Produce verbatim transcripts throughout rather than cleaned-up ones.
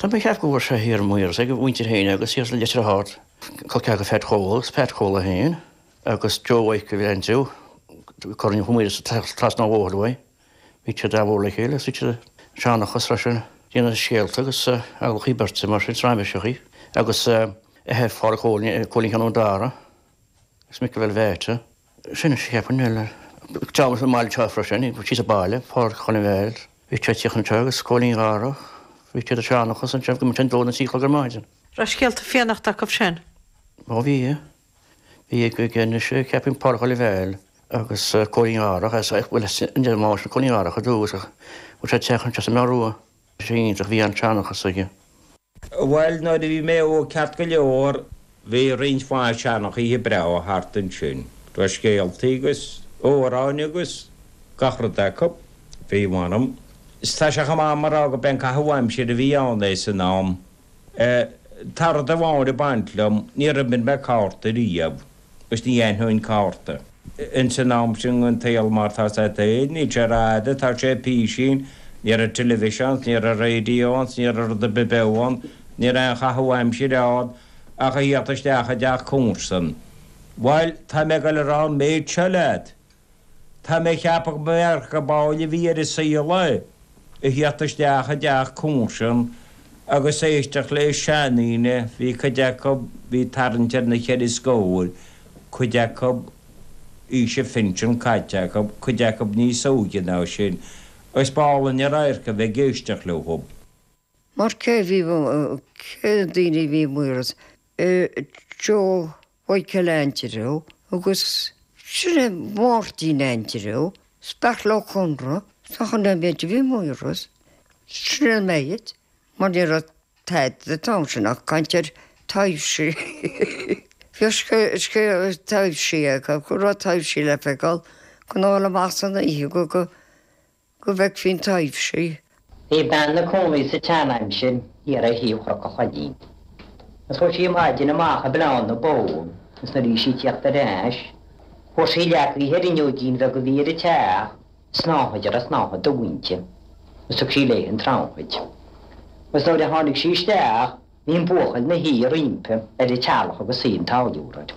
Tá mé ag ceapadh go bhfuair sé thiar i Maoras ag a mhuintir féin agus thiar sa Leitir Ard. Col ceathracha Phat Chóil agus Pat Chóil é féin agus Joe Mhichael Aindriú, Corn Mhaoras trasna an bhóthair uaidh. Bhí siad an-mhór le chéile agus bhí siad ag seanchas freisin, déanamh scéalta agus adhlacthaí beirte mar sin, raiméiseachaí agus athair Phádraic Chóilín, Cóilín Sheáin Ó Dara agus Michael Bheairtle. Sin is cheapfainn eile. Teacht sa mbaile seo freisin, síos sa baile, Pádraic Chóilín Bheairtle. Bhí siad ag tíocht anseo agus Cóilín Dhara. Bhí siad ag seanchas anseo go mbíodh sé dó nó trí a chlog ar maidin. Raibh scéalta Fiannachta acu sin? Ó bhí. Bhí ag anois ceapaim Pádraic Chóilín Bheairtle agus Cóilín Dharach as bhuel an deir máis Cóilín Dharach ar dtús ach bhfuil sé teach anseo sa mBeár Rua. Sé iontach bhí an seanchas aige. Bhuel nuair a bhí mé óg ceart go leor bhí roinnt mhaith seanchaithe breá thart ansin. Raibh scéaltaí agus amhráin agus gach rud acu. Bhí mh'anam. Is tá sé chomh maith mar rá go b'é an caitheamh aimsire a bhí ann é san am. Tá rud amháin ag baint liom, níor imir mé cárta riamh agus ní aithneoinn cárta. Ins an am sin an tsaol mar tá sé féin, níl sé rada, tá sé písín, ní raibh teilifíseán, ní raibh raidió ann, ní raibh rud ar bith beo ann, ní raibh aon chaitheamh aimsire ann ach a theacht isteach i dteach comharsan. Bhuel, tá mé ag dul a rá an méid seo leat. Tá mé ag ceapadh go mb'fhearr go ball a bhí ar an saol é a theacht isteach i dteach comharsan agus éisteacht le seandaoine, bhí cuid acu, bhí tarraingt ar na ceithre scór, cuid acu aois a phinsin caite acu, cuid acu níos óige ná sin, agus b'álainn an radharc a bheith ag éisteacht leo. Mar cé bhí cé na daoine a bhí i Maoras? Joe Mhichael Aindriú agus sin é Máirtín Aindriú, Beartla Ó Conra, tá an méid a bhí i Maoras. Sin é an méid, mar ní raibh tada an t-am sin ach caint ar taibhsí. Bhí taibhsí acu, go raibh taibhsí le feiceáil, go ndul amach san oíche go go go bhfeicfí an taibhsí. Bhí bean 'na cónaí sa tsean-aimsir thiar ar thaobh Chnoc an Choillín. Agus chuaigh sí maidin amach ag bleán na bó agus nuair a bhí sí ag tíocht ar ais, fuair sí leagaithe ar fhuinneoigín bheag a bhí ar an teach, snáthaid a raibh snáthaid dubh inti, agus thug sí léi an tsnáthaid. Agus nuair a tháinig sí isteach, bhí an buachaill 'na shuí roimpi ar an teallach agus suí an táilliúra air.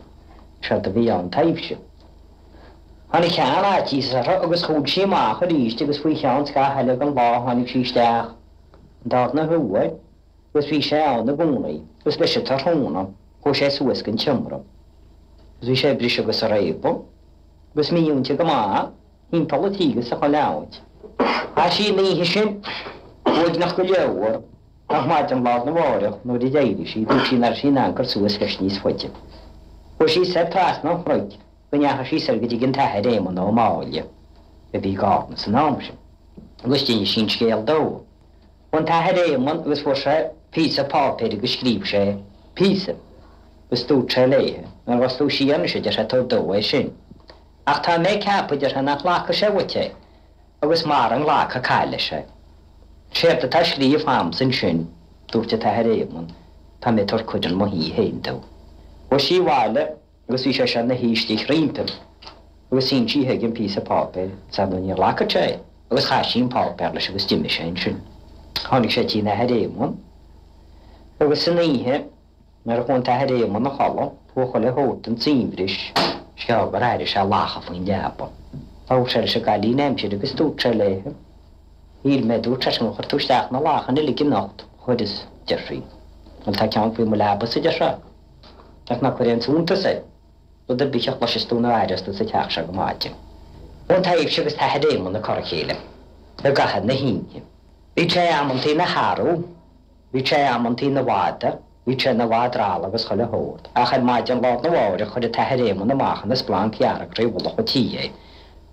Séard a bhí ann taibhse. Tháinig sean-fhaitíos uirthi agus chuaigh sí amach arís agus faoi cheann scaitheamh eile den lá tháinig sí isteach an darna huair agus bhí sé ann i gcónaí agus leis an tráthnóna chuaigh sé suas go an tseomra agus bhí sé ag briseadh agus ag réabadh agus mímhúinte go maith thimpeall an tí agus sa chuile áit. Chaith sí an oíche sin uaigneach go leor ach maidin lá arna mháireach nuair a d'éirigh sí dúirt sí nach raibh sí in ann cur suas leis níos faide. Chuaigh sí soir trasna an chnoic go ndeachaigh sí soir go dtigh an tAthair Éamonn Ó Máille, a bhí i gCarna san am sin, agus d'inis sí an scéal dó. Chuaigh an tAthair Éamonn agus fuair sé píosa páipéir agus scríobh sé píosa agus dúirt sé léi, Nuair a ghabhfas tú siar anois, a deir sé, tabhair dó é sin. Ach tá mé ag ceapadh, a deir sé, nach nglacfaidh sé uait é, agus mara nglaca caith leis é. Séard atá scríofa a'msa ansin, dúirt an tAthair Éamonn, tá mé ag tabhairt cuireadh 'un mo thí féin dó. Chuaigh sí abhaile agus bhí sé seo 'na shuí istigh roimpi agus shín sí chuige an píosa páipéir, is ar ndóigh ní ghlacfadh sé é, agus chaith sí an páipéar leis agus d'imigh sé ansin. Tháinig sé tí an Athar Éamonn agus san oíche nuair a chuaigh an tAthair Éamonn a chodladh, chuaigh chuile shórt den tsuaimhris, is gearr gur airigh sé lacha faoin leaba. Labhair sé leis an gcailín aimsire agus dúirt sé léi, Shíl mé, dúirt seisean, gur chuir tú isteach na lachain uilig anocht. Chuireas, deir sí. Bhuel, tá ceann faoi mo leaba-sa, deir sé. Ach ná cuir aon suntas air. Rud ar bith a chloisfeas tú nó a aireos tú sa teach seo go maidin. Ón taibhse agus t-Athair Éamonn ag cur a chéile i gcaitheamh na hoíche. Bhí sé amantaí ina shearbh, bhí sé amantaí ina mhadadh, bhí sé ina mhadra agus chuile shórt, ach ar maidin lá arna mháireach chuir an t-Athair Éamonn amach ina splanc dhearg tré mhullach an tí é,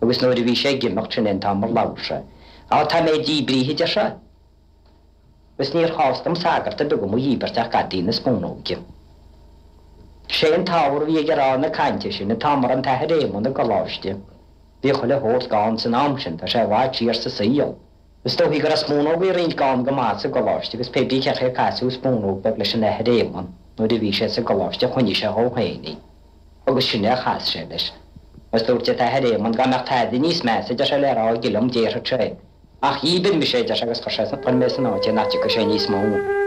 agus nuair a bhí sé ag imeacht sin é an t-am ar labhair sé. Á, tá mé díbrithe, a deir sé. Agus níor chás dom sagart ar bith do mo dhíbirt ach gadaí na spúnóige. Sé an t-ábhar a bhí aige a rá na cainte sin, an t-am a raibh an tAthair Éamonn i gcoláiste. Bhí chuile shórt gann san am sin, tá sé i bhfad siar sa saol. Is dóichí go raibh spúnógaí roinnt gann go maith sa gcoláiste agus pé bí cé chaoi ar casadh spúnóg bheag leis an Athair Éamonn nuair a bhí sé sa gcoláiste choinnigh sé dhó féin í. Agus sin é a chas sé leis. Agus dúirt an tAthair Éamonn dá mbeadh tada níos measa, deir sé, le rá aige liom, déarfadh sé é. Ach dhíbir mise é, deir sé, agus chuir sé chuir mé san áit é nach dtiocfadh sé níos mó.